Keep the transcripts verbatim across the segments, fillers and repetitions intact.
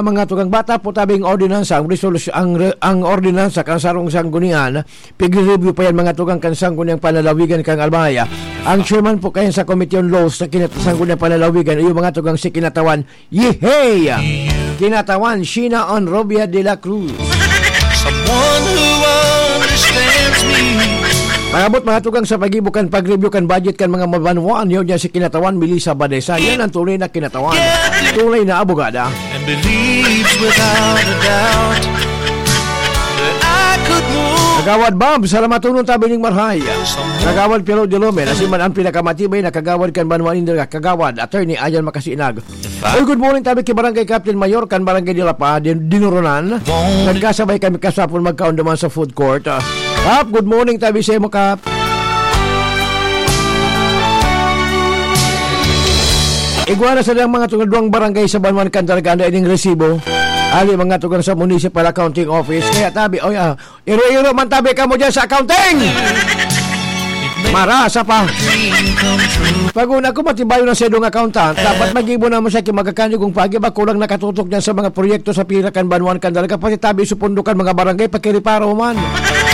Mga tugang, bata po tabing ordinansa, ang resolusyon, ang re-, ang ordinansa kan sarong sanggunian, pigre-review pa yan, mga tugang, kan sangguniang panlalawigan kan Albay. Ang chairman po kayan sa Committee on Laws sa kinat-, sangguniang panlalawigan, iyo, mga tugang, si Kinatawan Yehey! Kinatawan Sheena Onrobia de la Cruz. Someone who understands me. Pag-abot, mga tugang, sa pag-ibo kan pag-review kan budget kan mga mabanwaan, yun niya si Kinatawan Melissa Badesa. Yan ang tunay na Kinatawan. Tunay na abogada. And believes without a doubt that I could move. Kagawad Bob, salamat tunon tabi ning marhay. Kagawad Piero de Lomen, asin man ang pinakamatibay na kagawad kan banwaan ninda, Kagawad Attorney Ayan Makasinag. Oy, good morning tabi ki Barangay Captain Mayor kan Barangay Dilapa, Din-, Dinurunan. Nagkasabay kami kasapon magkaon duman sa food court. Ah, Kap, good morning tabi sa imo, Kap. Igwa na sa mga tunga duwang barangay sa Banwan kan Dalaga na ining resibo. Ali mga tugang sa Municipal Accounting Office. Kaya tabi, oy, ah, iro-iro man tabi kamo dyan sa accounting. Marasa pa. Pag una ko, matibayo na sa idong accountant. Dapat mag-ibo naman siya kay magkakanyo kung pagi ba kulang nakatutok niyan sa mga proyekto sa pira kan banwan kan dalaga. Pati tabi supundo kan mga barangay, pakiriparo man.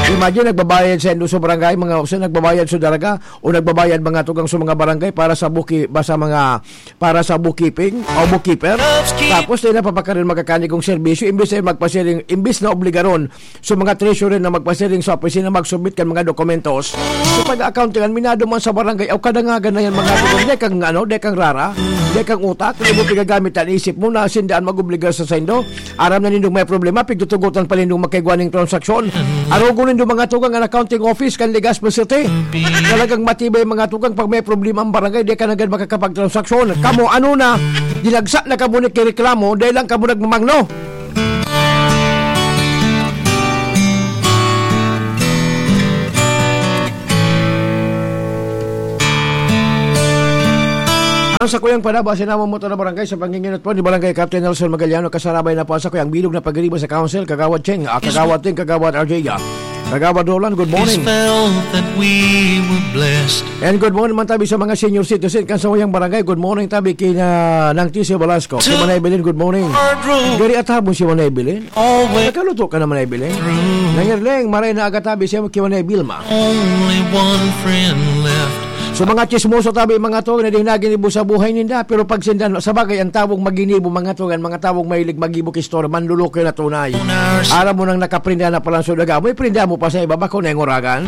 Imagine, nagbabayad sa indo sa barangay, mga usa nagbabayad sa dalaga o nagbabayad mga tugang sa mga barangay para sa buki-, ba sa mga, para sa bookkeeping o bookkeeper. Tapos, di na papakarin magkakanyo kung serbisyo, imbis na magpasiring, imbis na obligaron so mga treasurer na magpasiring sa opisina magsubmit kan mga dokumentos. So, pag-accountingan, minado man sa barangay, aw kadangagan na yan, mga tugang, di kang, ano, di kang rara, di kang utak, di mo pigagamit ang isip mo na sindaan mag-obligar sa saindo. Aram na nindong may problema, pigtutugotan pa nindong magkaigwa ning transaksyon. Arogon nindo mga tugang ang accounting office kan Legazpi City. Talagang matibay mga tugang pag may problema ang barangay, di ka na gad makakapagtransaksyon. Kamo, ano na, dinagsa na kamo ni kireklamo, dahil lang kamo nagmamangno. Ang sakuyang panaba, sinamong motor na barangay sa panginginot po ni Barangay Captain Nelson Magaliano, kasarabay na po ang sakuyang bilog na pagiriba sa council, Kagawad Cheng, ah, Kagawad Ting, Kagawad R J, ah, Kagawad Roland, good morning. Felt that we were blessed. And good morning man tabi sa mga senior citizen kan sa uyang barangay. Good morning tabi kina Nang T C Velasco. Kay Manay Belen, good morning. Hard road. Gari at habon si Manay Belen. Always. Nagkaluto ka na, Manay Belen. Through. Nangirleng, maray na aga tabi siya kay Manay Bilma. Only one friend left. So, mga chismoso tabi, mga to, na dinagin ibo sa buhay ninda. Pero pag sinda, sa bagay, ang tawong maginibo, mga to, ang mga tawong mahilig magibok istorya, manluloko na tunay. Aram mo nang nakaprenda na palang sudaga. May prenda mo pa sa iba, bako na yung oragan.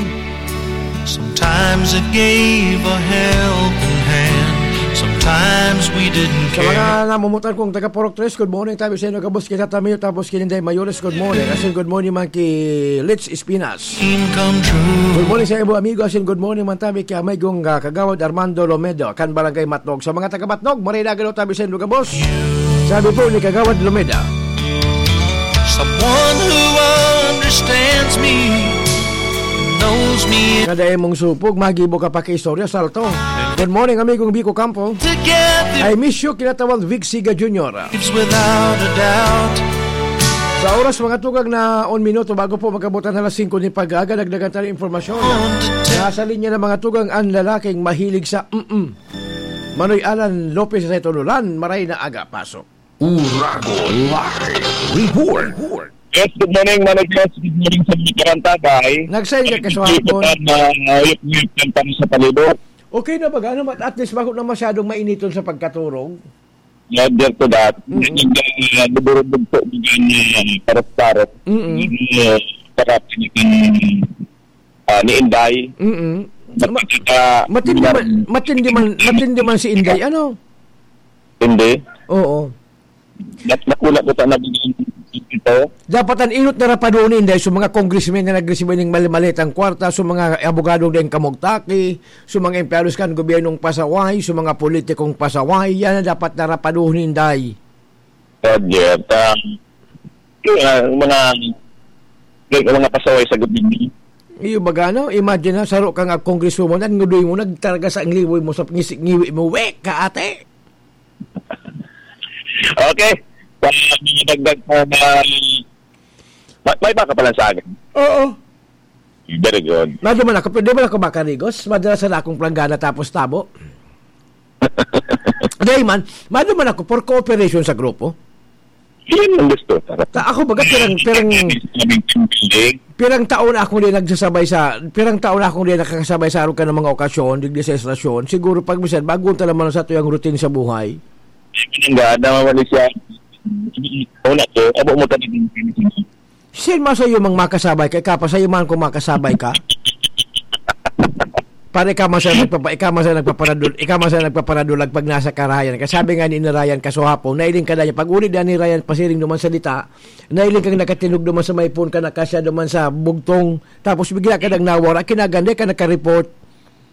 Sometimes it gave a helping hand. Sometimes we didn't care. Sa mga namumutan kong taga Purok Tres, good morning tabi sa inyo, gabos kita Tamiyo, tapos kininday Mayores, good morning. Asin good morning man ki Litz Espinas. Dream come true. Good morning sa inyo, amigo. Asin good morning man tabi ki amay kong, ah, Kagawad Armando Lomedo, kan Barangay Matnog. Sa mga taga Matnog, maray na galo tabi sa inyo, gabos. Sabi po ni Kagawad Lomeda. Someone who understands me, knows me. Kada imong supog, magibo ka pa kay istorya, salto. Good morning, amigong Biko Campo. Together. I miss you, kinatawan Vic Siga Junior. Lives without a doubt. Sa oras, mga tugang na on minuto bago po magkabutan na alas singko ni pag-aga, dagdagan tayo ng impormasyon. Nasa linya ng mga tugang ang lalaking mahilig sa mm-mm. Manoy Alan Lopez sa Tololan, maray na aga, pasok. Uragon Live Report. Yes, good morning, Manay Chris. Good morning sa mga karantabay. Nagsain ka, Kaswapon. Ay, hindi ko pa na, uh, yuk-yuk yung tama sa palibot. Okay na ba? Ano, at least bako na masyadong mainiton sa pagkaturog? Yeah, there to that. Mm-mm. Nag-, uh, buburubog po, bigyan niya, paros-paros. Mm-mm. Hindi, uh, sarap, hindi, ah, ni Inday. Mm-mm. Mat-, Ma-, ah, matindi man, matindi man, matindi man si Inday, ano? Hindi. Oo. Nat-, nakula ko sa nabigyan ito. Dapat ang inot na rapaduon ni Inday, so mga congressmen na nagresibo ning mali-malitang kwarta, so mga abogadong dayong kamugtaki, so mga empleyados kan gobyernong pasaway, so mga politikong pasaway, yan ang dapat na rapaduon ni Inday. Roger, ah, yun nga, yung mga, yung mga pasaway sa gobyerno. Iyo baga, no? Imagine na, saro ka nga congresswoman, at ngudoy mo, nagtaraga sa ngiwi mo, sa ngisi-, ngiwi mo, wek ka, ate! Okay. Sa mga dagdag pa na, ma-, may baka pala sa akin. Oo. Very good. Maduman ako, pwede man ako makarigos? Madala sa akong planggana tapos tabo. Dahil man, maduman ako for cooperation sa grupo. Yan ang gusto. Ta-, ako baga, pirang, pirang, pirang taon na akong di nagsasabay sa, pirang taon na akong di nakakasabay sa arog kan mga okasyon, digdi sa estasyon. Siguro pag minsan, bago ta naman sa tuyang routine sa buhay. Hindi nga, namamali siya. Una ko, abo mo talaga yung Sir, masayo mang makasabay ka, ikaw pa sayo man kung makasabay ka. Pare, ikaw man sa nagpapa-, ikaw man sa nagpaparadol-, ikaw man sa nagpaparadulag pag nasa ka, Ryan. Kasi sabi nga ni, ni Ryan kasuhapon, nailing ka na niya. Pag uli na ni Ryan, pasiring duman salita, nailing kang nakatinog duman sa may phone ka, nakasya duman sa bugtong, tapos bigla ka nang nawara, kinaganda ka nakareport.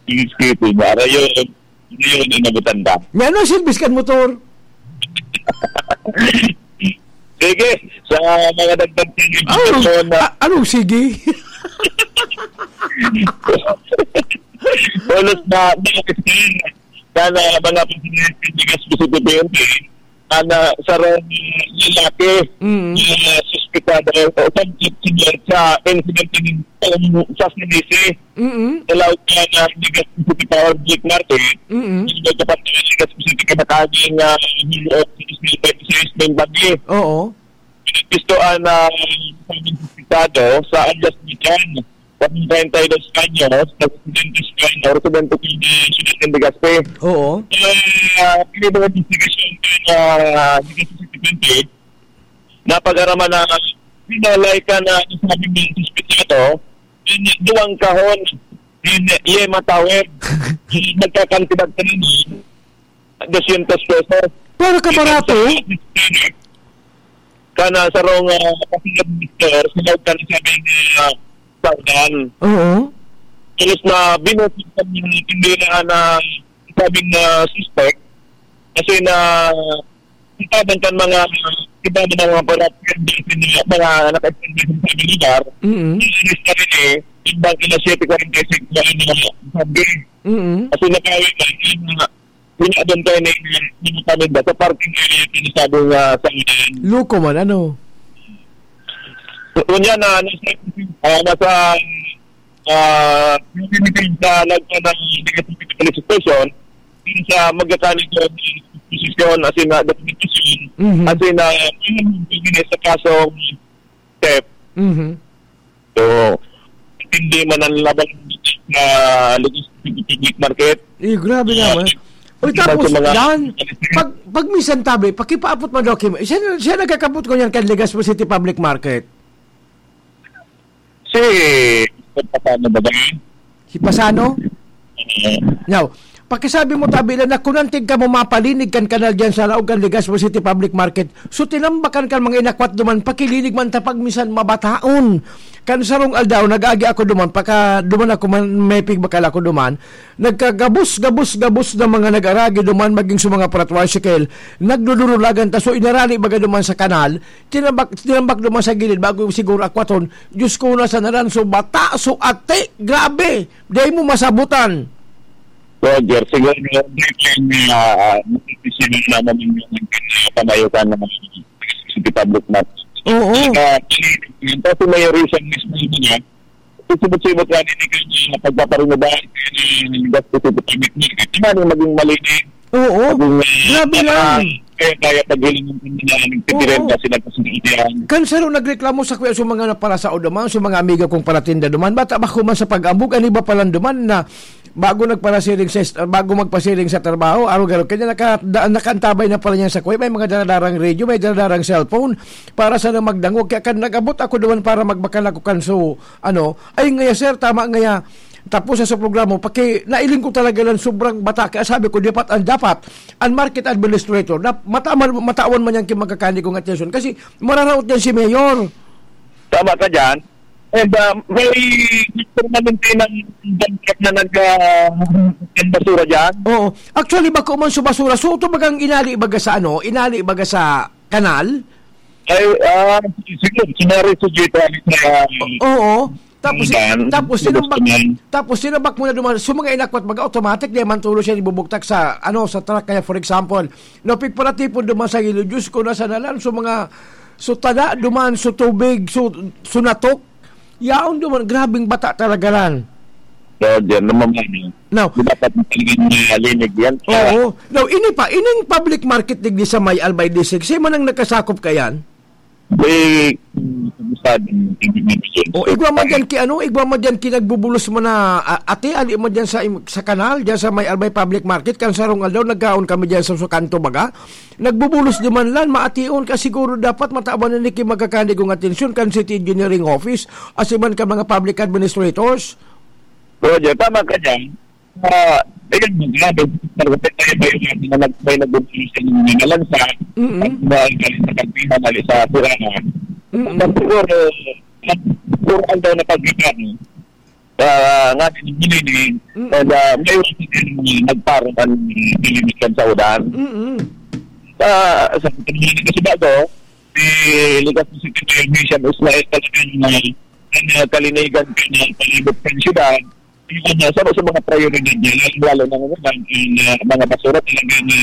Sige, sige, sige. Ara yun. Ano yun, inabutan ka? Nga, ano, service kan motor? Sige, sa mga dagdag sa Oh, impormasyon na a-, anong sige? Pulos na, na, na mga presidente ni Gaspi City P N P, na, na sarong lalaki Mm. na suspitado o subject sa insidente ng, um, sa Sinisi. Mm. Sa laog ka na ni Gaspi City Public Market, Mm. hindi ka pa ni Gaspi City kabataging, ah, Hero of Business Services ng Bagi. Oo. Gusto ang, ah, Estado sa alias ni Jan, treinta y dos anyos, na residente sa, residente sa Siyudad ng Legazpi. Oo. Eh, ah, pinibuhat investigasyon kay, ah, Legazpi City P N P, napag-araman na pinalay ka na isabing ng suspetsado, in duwang kahon, in yema tawid, nagkakantidad ka na doscientos pesos. Para ka barato? Kana sarong, ah, kasunod, mister, sunod ka na sabi ni, ah, Saudan. Oo. Tulos na binuti sa mga tindera na sabing na suspect kasi na itaban kan mga iba na mga parat-, mga naka-, sa lugar. Mm. Inis na rin eh, ibang ina siyete kwarenta y cinco na mga sabi. Mm. Kasi nakawin na, yung mga, yung mga doon tayo na yung, yung paninda sa parking area, yung sinasabi nga sa unahan. Loko man, ano? So, unya na, nasa, ah, nasa, ah, yung tinitin sa lagpa ng Legazpi Police Station, yung sa magkakanig ko ng posisyon, as in, ah, dokumentasyon, Mhm. as in, ah, yung pagkakainis sa kasong theft. Mhm. So, hindi man ang labang sa Legazpi Public Market. Eh, grabe Ah, naman. Uy, iba tapos, sa mga yan, pag, pag minsan tabi, pakipaabot mo daw, Kim. Siya, siya nagkakabot ko yan kan Legazpi City Public Market. Si, paano ba ba? Si Pasano? Eh, Now, pakisabi mo, tabi lang, na kung antig ka mo mapalinig kan kanal diyan sa laog kan Legazpi City Public Market, so tinambakan kan mga inakwat duman, pakilinig man ta pag minsan mabataon. Kan sarong aldaw, nag-agi ako duman, paka duman ako man, may pigbakal ako duman, nagkagabos, gabos, gabos na mga nag-aragi duman, maging sa mga para-tricycle, nagdudurulagan ta, so inarali baga duman sa kanal, tinambak, tinambak duman sa gilid, bago siguro akwaton, Diyos ko, nasa naran, so bata, so ati, grabe, di mo masabutan. Roger, siguro, no, briefly, ah, ah, makikisigil naman yung, yung, ah, pamayotan ng City Public Market. Oo. Ah, kasi may reason mismo yun, ah. Sibot-sibot nga, hindi kayo pagpaparunubahan, kaya yung gasto sa public market. Di ba, yung maging malinis? Oo. Maging, ah, Grabe lang. Kaya, kaya paghiling ng mga nagtitirinda Oo. sila kasi yan. Kan saro nagreklamo sa kuya, sa mga naparasao duman, sa mga amigo kong paratinda duman, bata pa ko man sa pag-ambog, ang iba pa lang duman na bago nagparasiring sa est-, bago magpasiring sa trabaho, araw-araw, kanya naka-, da-, nakaantabay na pala niya sa kuya, may mga daradarang radio, may daradarang cellphone, para sana magdangog. Kaya kan nag-abot ako duman para magbakal ako kan so, ano, ay ngaya, sir, tama ngaya. Tapos sa, sa programa, paki-, nailing ko talaga lang sobrang bata. Kaya sabi ko, dapat, ang dapat, ang market administrator, na mata-, matawan man yan kin magkakani kong atensyon. Kasi mararaot yan si Mayor. Tama ka dyan. And, ah, may permanente ng dump truck na nag, ah, ng basura dyan. Oo. Actually, bako man sa basura. So, ito bagang inali baga sa ano? Inali baga sa kanal? Ay, ah, siguro, sinari sa Jita, sa, Oo. Tapos, Yan. tapos, Gusto sinambak, niyan. tapos sinambak mo na duman. So, mga inakwat, baga automatic, di man tulo siya ibubugtak sa, ano, sa truck. Kaya, for example, no, pigparatipon duman sa gilid. Diyos ko, nasa nalan. So, mga, so, tada duman, so, tubig, so, so, natok. Yaon duman, grabing bata talaga ran. Roger, namamano. Now, Di dapat talagang nalinig yan? Oo. Now, ini pa, ining public market digdi sa may Albay District, siya man ang nakasakop kayan? Eh, kabisado ng tubig na yun. O, igwa man dyan ki, ano, igwa man dyan ki nagbubulos mo na, a-, ate, ali mo dyan sa im-, sa kanal, dyan sa may Albay Public Market, kan sarong aldaw, nagkaon kami dyan sa, sa kanto, baga. Nagbubulos duman lan, maation ka siguro dapat matawan na ni ki magkakanigong atensyon kan City Engineering Office, asiman ka mga public administrators. Roger, tama ka dyan. Ah, ayun, mga grabe, marupit tayo ba yung mga nag-, may nagbubulis sa mga nalansa, Mm-mm. at mga galing sa kantina, mali sa siraan. Mm-mm. At siguro, at puro aldaw na pagkakano, ah, nga din yung hiniling, Mm-mm. and, ah, may iwasan din yung nagparang ang nilimitan sa ulan. Mm-mm. Sa, sa pagkakas kasi bago, si Ligas na si Tito Michel Ismael talagang, ah, ang, ah, kalinigan ka na palibot ng syudad, Yun, ah, sa, sa mga prioridad niya, lalong-lalo na ngayon, ang, ang, ah, mga basura talaga na,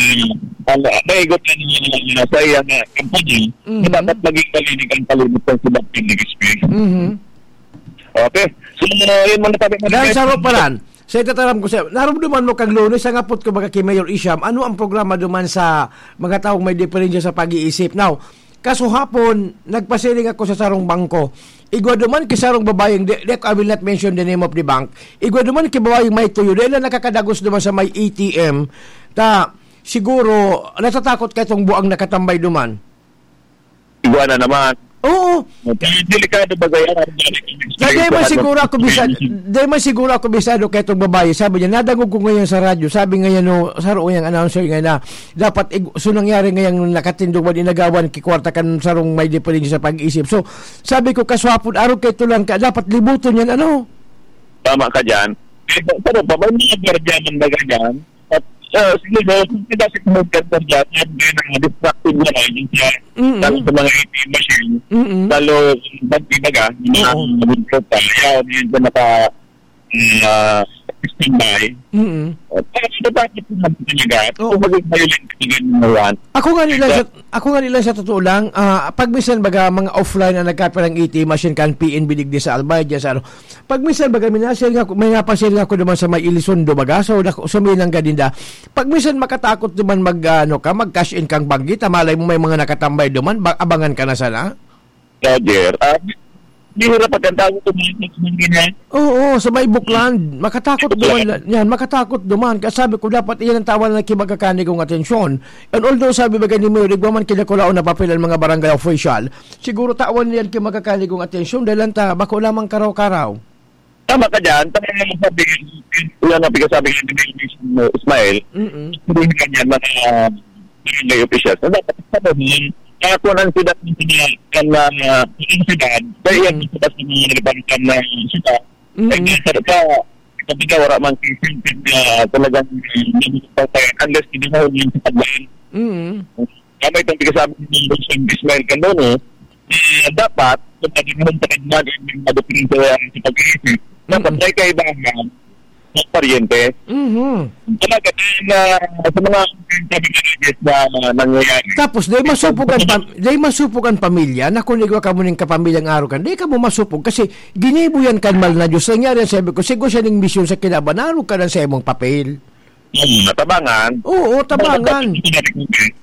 ah, maigot na niya sa iyang, ah, kampanya, Mhm. na dapat maging malinis ang palibot ng Sibat Public Space. Mhm. Okay. So, ah, yun muna tayo. Dan, sa Roparan, sa itataram ko sa, narumduman mo kang Lunes, ang apot ko baga ki Mayor Isham, ano ang programa duman sa mga taong may diferensya sa pag-iisip? Now, Kasuhapon, nagpasiring ako sa sarong bangko. Igwa duman ki sarong babayeng, di, di, I will not mention the name of the bank. Igwa duman ki babayeng may tuyo. Dahil lang nakakadagos duman sa may A T M. Ta, siguro, natatakot ka itong buang nakatambay duman. Igwa na naman. Oo. Kaya delikado ba gaya? Kaya di man siguro ako bisa-, di man siguro ako bisado kay itong babae. Sabi niya, nadangog ko ngayon sa radyo. Sabi ngayon, no, sa roong announcer ngayon na, dapat ig-, so nangyari ngayang nakatindog man inagawan ki kwarta kan sarong may diferensya sa pag-isip. So, sabi ko, kaswapon, arog kay tulang ka, dapat libuton yan, ano? Tama ka dyan. Eh, pero pa, may mga gwardiya man baga dyan. At, ah, sige, no, kung kita si Kumugad ka dyan, yan din ang distractive na rin, yung siya, Mm-mm. lalo sa mga A T M machine, Mm-mm. lalo, pag ibaga, yung mga Oo. Withdraw pa, yan, yun, na naka, mm, ah, standby. Mm-mm. At, ah, sinasabi ko naman talaga, Oo. kung maging violent ka din, number one. Ako nga nila Ikaw? sa, ako nga nila sa totoo lang, ah, pag minsan baga mga offline ang nagkapirang A T M machine kan P N B digdi sa Albay, dyan sa ano. Pag minsan baga, may nasiring ako, may napasiring ako naman sa may Elizondo baga, so, dak-, sumilang ka din da. Pag minsan makatakot naman mag, ano ka, mag-cash in kang banggit, ah, malay mo may mga nakatambay duman, ba-, abangan ka na sana? Roger, ah, di hirap pagkantago kung may mga ganyan. Oo, sa may Bukland. Makatakot Bukland. Duman la-, yan, makatakot duman. Kaya sabi ko, dapat iyan ang tawa na nakibagakani kong atensyon. And although sabi ba ni Mayor, igwa man kinakulaon na papel ang mga barangay official, siguro tawan niyan kibagakani kong atensyon dahil ang ta-, bako lamang karaw-karaw. Tama ka dyan. Tama nga sabi, yan ang pinasabi ni Mayor Ismael. Mm-mm. Hindi nga niya mga barangay officials. Na dapat sa mga, kaya kung ang sila ng mga, ang, ah, ang sila, kaya yan Mm. sila sa mga nagpapalitan na sila. Mm. Ay, nga, sa, sa, sa, wala mang consent na talagang, ah, unless hindi mo yung sa paglain. Mm. Tama itong pinasabi ni Congressman Ismael Candone, eh, dapat, kung pwede mo sa kanya, yung mga diferensya sa pag-iisip, dapat Mm. may kaibahan sa paryente. Mhm. Talaga, dahil, ah, sa mga sabi nga, yes, na, na nangyayari. Tapos, dahil masupog ang pam-, dahil masupog ang pamilya, na kung igwa ka mo ning kapamilyang arog kan, dahil ka mo masupog kasi ginibo yan kan mal na Diyos. Nangyari yan, sabi ko, siguro siya ning misyon sa kinaban, arog ka na sa imong papel. Hmm, natabangan. Oo, tabangan.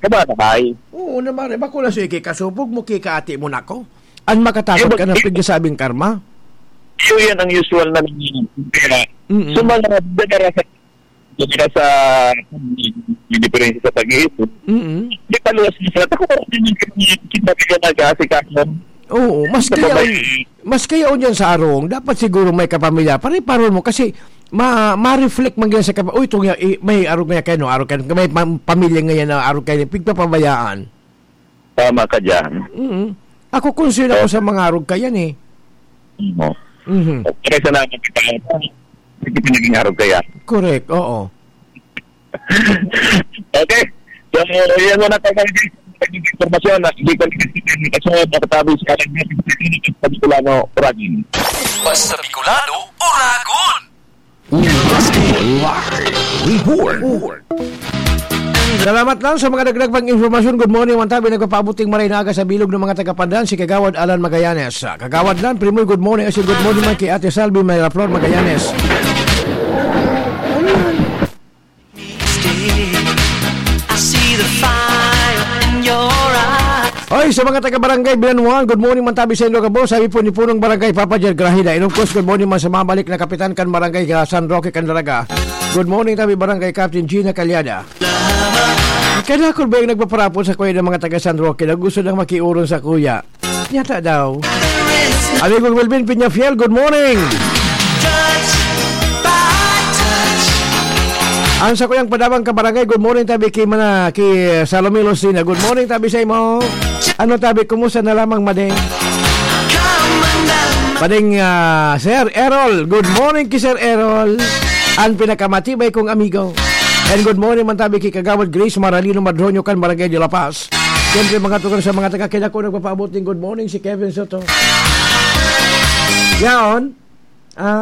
Kaba na bay. Oo, naman. Bako lang sa ikikasubog mo, kikaati mo na ko. An makatakot Eh, ka na eh, pigkasabing karma? Iyo yan ang usual na nangyayari. Kaya, Mm-mm. sa mga dagara sa, dagara sa, may diferensya sa pag-iisip. Mm-mm. Di paluwas mo sila. Ako, hindi naman kita nag-aasikaso. Oo, mas Sa kaya, babae. Mas kaya on yan sa arong, dapat siguro may kapamilya. Pare-paron mo kasi ma-, ma-reflect man ganyan sa kapa-, "Uy, itong ya-, i-, may arog nga kaya, no? Arog kaya, may pam-, pamilya ngayon na arog kaya, pigpapabayaan." Tama ka dyan. Mm. Ako, concern ako Oh. sa mga arog kaya, eh. Oo. Mhm. Okay, salamat kita. Hindi pinaging arog kaya. Correct, oo. Okay. So, yan muna tayo, guys. Naging impormasyon na hindi ko naging impormasyon na katabi sa kalag niya sa Bicolano, Oragon. Basta Bicolano, Oragon! Live report. Salamat lang sa mga dagdag pang impormasyon. Good morning, Juan Tabi. Nagpapaabuting maray na aga sa bilog ng mga taga-Pandan, si Kagawad Alan Magallanes. Kagawad Lan, Primoy, good morning. As in, good morning man kay Ate Salvi Miraflor Magallanes. I see the fire in your eyes. Oy, sa mga taga Barangay Bilanuan, good morning man tabi sa inyo, gabos. Sabi po ni Punong Barangay Papa Jer Grahida. And of course, good morning man sa mabalik na kapitan kan Barangay, ah, San Roque, Candelaga. Good morning tabi, Barangay Captain Gina Calyada. Kaya ako ba yung nagpaparapon sa kuya ng mga taga San Roque na gusto nang makiuron sa kuya? Yata daw. Amigo Melvin Peñafiel, good morning. Ang sa kuyang padabang kabarangay, good morning tabi kay mana, kay Salome Lucina. Good morning tabi sa imo. Ano tabi, kumusta na lamang, Madeng? Madeng, ah, Sir Errol, good morning kay Sir Errol. Ang pinakamatibay kong amigo. And good morning man tabi kay Kagawad Grace Maralino Madroño kan Barangay de La Paz. Siyempre, mga tugang sa mga taga Quinaco, nagpapaabot ning good morning si Kevin Soto. Yaon. Ah,